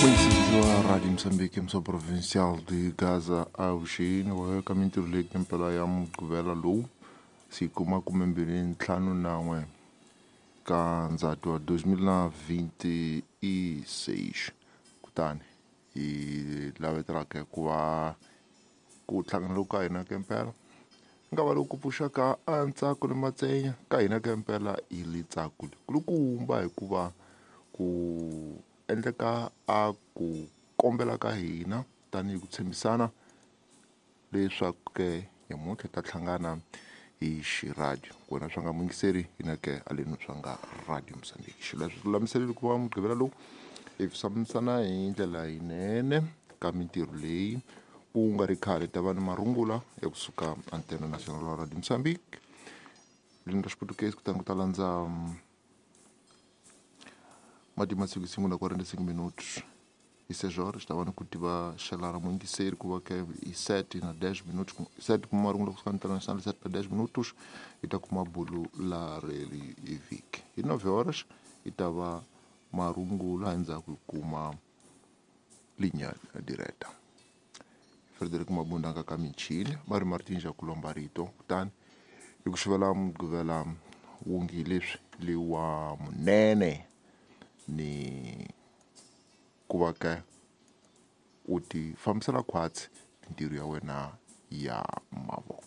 Muincentiva Rádio Moçambique, emissão provincial de Gaza avuxeni wa ka mintirho leyi mpela ya mugqivela lowu siku 25 ka Ndzhati wa 2026. Kutani hi lavetelaka ku va ku hlangana loku ka hina kempela nga va loku pfuxaka a ntsako ni matsenya ka hina kempela hi litsako kulukumba, hikuva ku endleka a ku kombela ka hina tanihi ku tshembisana leswaku ke nyamuntlha hi ta hlangana hi xiradio. Kona swa nga muyingiseri hina ke aleni swa nga Radio Mozambique xileswo lulamiseleli ku va mugqivela lowu hi fambisana hi ndlela yinene ka mintirho leyi ku nga ri khale ta va ni marungula ya kusuka Antena National Radio Mozambique ririmi ra Xiputukezi, kutani ku ta landza mati masiku sungula 45 minutos hi 6 horas ta va ni ku tiva xela ra muyingiseri ku va ke hi 7 na 10 minutos, 7 kuma marungula kusuka international 7 na 10 minutos hi ta kuma bulu la reli hi vhiki hi 9 horas hi ta va marungula, endzhaku hi kuma linya direta. Frederick Mabunda nga ka michini va ri Martin Jakulomba rito. Kutani hi ku xivela mugqivela wungi leswi lewa munene ni ku va ka u ti fambisela khwatsi mintirho ya wena ya mavoko.